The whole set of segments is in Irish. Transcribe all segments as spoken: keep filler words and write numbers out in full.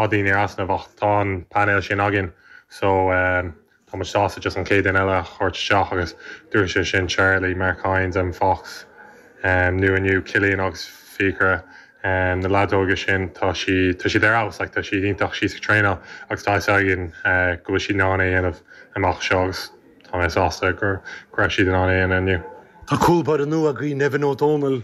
daoine ar easnamh ach tá an panel sin againn so um, tá muid sásta just an chéad duine eile a chur isteach agus dúirt sé sin Charlie, Mark Hines and Fox um, nu inniu Killian agus Fiachra um, na leaids óga sin tá si tá siad ar fheabhas like, tá siad iontach síos ag traenáil agus tá againn uh, go bhfuil siad in ann é dhéanamh amach seo agus tá mé sásta gur go raibh siad in ann é dhéanamh inniu. Tá cúl báire nua agaibh Nevin O'Donnell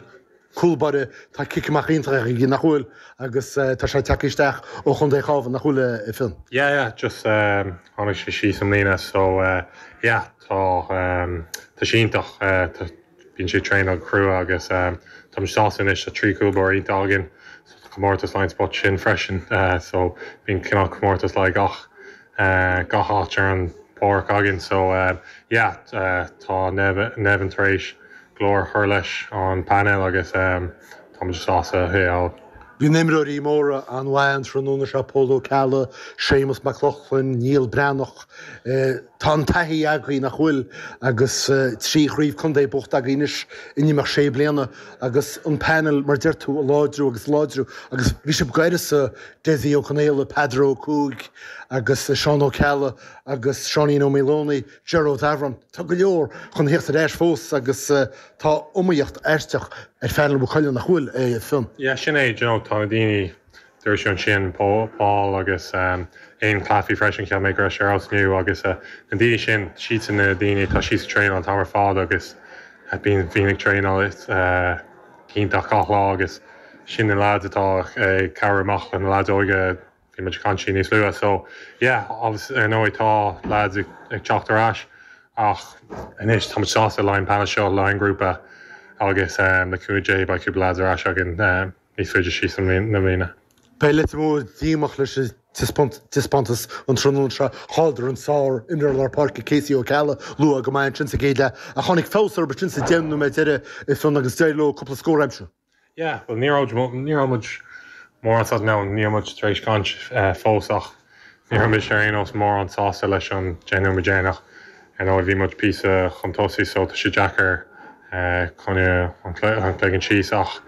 cúl báire tá cic amach iontach aige nach bhfuil agus uh, tá sé tagtha isteach ó Chontae an Chabháin nach bhfuil a Fhinn. Yeah, yeah, just um, tháinig sé síos an líne so uh, yeah, tá um, tá sé iontach uh, tá bíonn sé traenáil crua agus um, tá sásta anois tá trí chúl báire iontach againn so tá comórtas line spot sin freisin uh, so bíonn cineál comórtas le gach uh, gach áit ar an bpáirc againn so uh, yeah, uh, tá Nevin, Nevin tar éis go leor chur leis an panel agus um, tá sásta é fháil. Bhí imreoirí móra an-mhaith an tráthnóna seo Pól Ó Ceallaigh, Séamus Mac Lochlainn, Niall Breathnach, Tá an taithí agaibh nach bhfuil agus trí chraobh contae buaite agaibh anois in imeacht sé bliana agus an panel mar deir tú a láidriú agus láidriú agus bhí sibh gairid Dessie Ó Conaola, Pedro Cúig agus Seán Ó Ceallaigh agus Seáinín Ó Maoileoin, Gerard Avron Tá go leor chun teacht ar ais fós agus tá iomaíocht aisteach ar phanel Mhaigh Cuilinn nach bhfuil é Fionn. Yeah, sin é you know, tá na daoine dúirt sé sin Paul, Paul agus um, aon Claffey freisin cheap mé go raibh sé ar nú agus uh, na daoine sin siad na daoine tá siad traenáil an t-am ar fad agus uh, bíonn bhíonn ag traenáil uh, iontach gach lá agus sin na lads atá ag cabhrú amach le na lads óga bhí muid caint níos luaithe so yeah obviously ar ndóigh tá lads ag, ag teacht ar ais ach anois tá sásta le an panel seo le an grúpa agus um, le cúnamh Dé beidh cúpla lads ar ais againn um, níos faide síos na bliana. Beidh Leitir Móir díomách leis an taispeántas an tráthnóna seo chailleadar an sár-imreoir lár páirce Casey Ó Ceallaigh luath go maith sin sa gcéad leath a tháinig feabhas ar sin sa deich nóiméad deiridh Fionn agus d'éirigh leo cúpla scór a aimsiú. Yeah, well ní ní muid mórán sásta ná ní muid tar éis caint fós ach ní raibh ar aon nós mórán sásta leis an deich nóiméad deireanach ar ndóigh bhí muid píosa chun tosaigh so tá sé deacair chun an chloigeann síos ach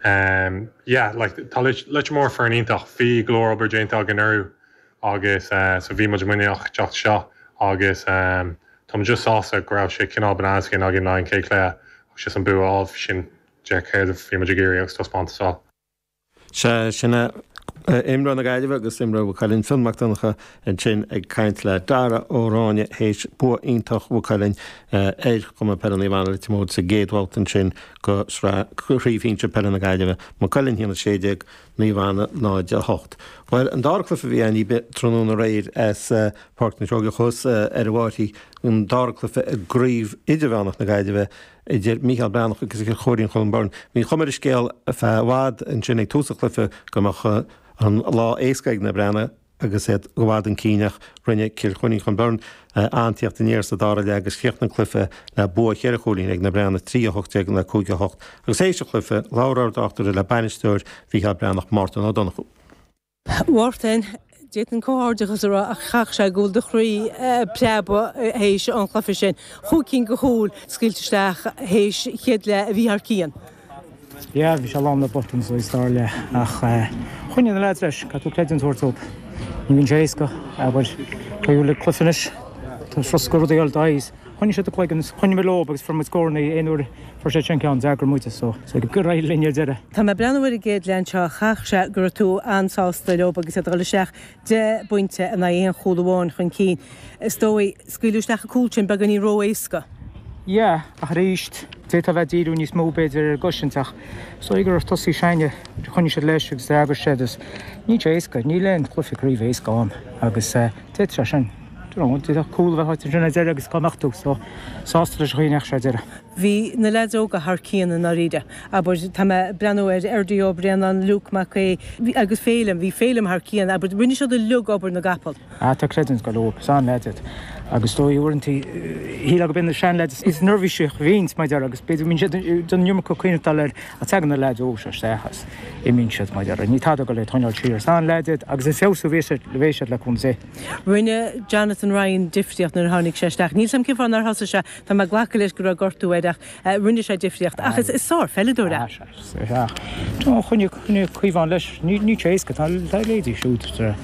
um, yeah, like, tá Leitir Móir foireann iontach bhí go leor obair déanta againn orthu agus uh, so bhí muid muiníneach teacht seo agus um, Tá just sásta go raibh sé cineál bananas againn le an chéad chluiche agus sé an bua sin de céard bhí muid ag iarraidh agus taispeántas á. Se sinna imreoir na Gaillimhe agus imreoir Mhaigh Cuilinn Fionn Mac Donncha ansin ag caint le Dara Ó Ráinne théis bua iontach Mhaigh Cuilinn ar Chumann Peile Naomh Anna Leitir Móir sa gcéad bhabhta sin de Chraobh Shinsir Peile na Gaillimhe Maigh Cuilinn a haon a sé déag Naomh Anna náid a hocht. Well an dara cluiche a bhí ann tráthnóna aréir as Páirc na Seoige thuas ar bhátí an dara cluiche i gCraobh Idirmheánach na Gaillimhe idir Michael Breathnach agus Cill Chóirín Cholm Byrne. Bhí cuma ar an scéal i bhfad ansin ag tús an chluiche go mbeadh an lá éasca ag na Breathnaigh agus iad i bhfad chun cinn ach rinne Cill Chóirín Cholm Byrne an-tíocht aniar sa dara leath agus chríochnaigh an cluiche le bua ceithre chúilín ag na Breathnaigh trí a hocht déag le cúig a hocht agus théis an chluiche labhair ár dtráchtaire le bainisteoir Mhicheál Breathnach Mártan Ó Donnchú. Mhártain Déan comhghairdeachas a rá a chaith sé go bhfuil do chroí preabadh théis an chluiche sin. Chúig cinn de chúil scaoilte isteach théis chéad leath a bhí thar cionn. Ja, bhí sé lán le botúin sa dara leath ach choinnigh na leaids leis, caithfidh tú creidiúint a thabhairt dóibh. Ní bhíonn sé éasca abair le cluiche anois Tá froscar rudaí d'áis. Choinnigh siad a cloigeann choinnigh leo agus fuair muid scóranna aon uair fuair sé sin ceann d'eagraigh muide so so gur éirigh linn ar deireadh. Tá mé ag breathnú ar an gcéad leath anseo chaith sé go raibh tú an-sásta leo agus iad ag dul isteach deich bpointe in aghaidh aon chúl amháin chun cinn. Is dóigh scaoileadh isteach an cúl sin beagáinín ró-éasca. Yeah, ach arís d'fhéadfá bheith díriú níos mó b'fhéidir ar an gcosaint ach so gur tosaí sinne choinnigh siad leis agus d'eagraigh siad is ní sé éasca, níl aon chluiche craoibhe éasca ann agus d'fhéadfadh sé sin. D'fhéadfadh cúl a bheith sin ar deireadh agus cá mbeadh tú so sásta leis an chaoi a ndeachaigh sé ar deireadh. Bhí na leaids óga thar cionn i ndáiríre. Abair tá mé ag breathnú ar Erdí Ó Bréanán, Luke Mac Aodha agus Féilim, bhí Féilim thar cionn, abair rinne siad uilig obair na gcapall. Ah tá creidiúint go leor, is an-leaids iad. Agus dóigh uaireanta shíl go b'in na seanleaids is neirbhísí a bhíonns mar deir agus b'fhéidir mbíonn siad den iomarca cuimhneamh air ach tagann na leaids óga seo isteach agus imíonn siad mar deir. Ní tada go le tógáil siar. Is an-leaids iad agus is feabhsú bhí siad bhí siad le cúnamh Dé. Rinne Jonathan Jonathan Ryan difríocht nuair a tháinig sé isteach. Níl a fhios agam cén fáth nár thosaigh sé tá mé ag glacadh leis go raibh gortú air ach rinne sé difríocht ach is sárpheileadóir é. Choinnigh Caomhán leis ní sé éasca tá leithéidí siúd